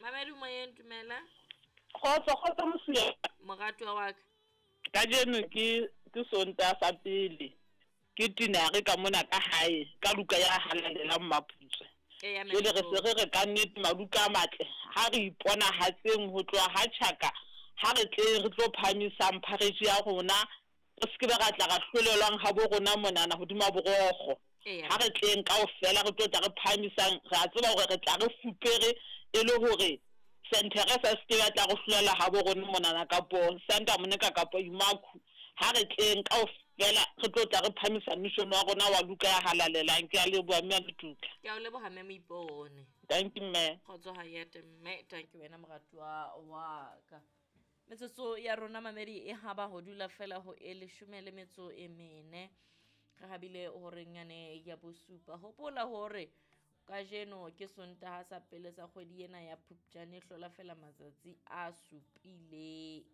Mamedi moyeng, dumela. Kgotso, kgotso mosuwe. Moratuwa wa ka. Kajeno ke ke Sontaha sa pele ke tinare ka mona ka hae ka Luka ya halalelang Maputswe. Jwale re se re re ka nnete Maluka a matle ha re iponahatseng ho tloha ha tjhaka ha re tleng re tlo phahamisang pharetše ya rona Re se ke be ra tla ra hlolelwang habo rona monana hodima borokgo. Ha re tleng kaofela re tlo tla re phahamisang, re a tseba hore re tla re fupere e le hore Saint Therese a se ke be a tla re hlolela habo rona monana kapo Santa Monica kapo Imakhu. Ha re tleng kaofela re tlo tla re phahamisa mission wa rona wa Luka ya Halalelang. Ke a leboha Mme Letuka. Ke a o leboha Mme Moipone. Dankie Mme. Kgotso Hayete Mme, dankie wena moratuwa wa ka. Metsotso ya rona mamedi e haba ho dula fela ho e leshome le metso e mene. Re habile horeng yane ya bosupa. Hopola hore kajeno ke Sontaha sa pele sa kgwedi ena ya Phupjane, hlola fela matsatsi a supileng.